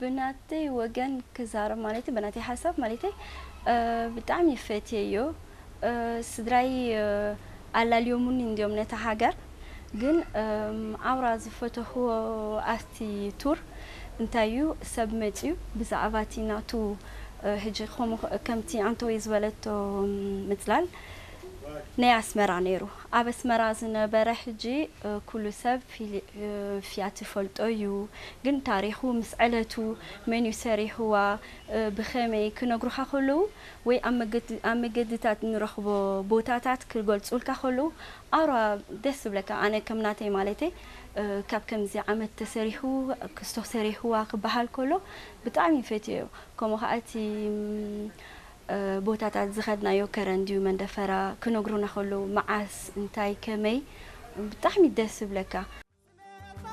ብናተይ ወገን ክዛረብ ማለተይ፣ ብናተይ ሓሳብ ማለተይ፣ እ፣ ብጣዕሚ ፈትየዮ። እ፣ ስድራይ፣ እ፣ ኣላልዮሙኒ እንድዮም ነታ ሃገር። ግን፣ እም፣ ኣውራ ዝፈተኽዎ ኣብቲ ቱር እንታይ እዩ፣ ሰብ መፅዩ ብዛዕባ እቲ ናቱ፣ እ፣ ሕጂ ከምኡ ኸ-፣ ከምቲ ኣንተወይ ዝበለቶ፣ እም፣ ምፅላል ናይ ኣስመራ ነይሩ። ኣብ ኣስመራ ዝነበረ ሕጂ፣ እ፣ ኩሉ ሰብ ፊሊ-፣ እ፣ ፍያት ይፈልጦ እዩ። ግን ታሪኹ ምስ ዕለቱ፣ መን እዩ ሰሪሕዋ፣ እ፣ ብኸመይ ክነግሩኻ ከለዉ፣ ወይ ኣብ መገዲ-፣ ኣብ መገድታት ንረኽቦ ቦታታት ክገልጹልካ ከለዉ፣ ኣውራ ደስ ዝብለካ። ኣነ ከም ናተይ ማለተይ፣ እ፣ ካብ ከምዚ ዓመት ተሰሪሑ፣ ክስቶ ሰሪሕዋ ክበሃል ከሎ ብጣዕሚ ፈትየዮ። ከምኡ ኸኣ እቲ፣ ም፣ እ፣ ቦታታት ዝኸድናዮ ከረን ድዩ መንደፈራ ክነግሩና ከለዉ፣ መዓስ፣ እንታይ፣ ከመይ፣ ብጣዕሚ ደስ ዝብለካ።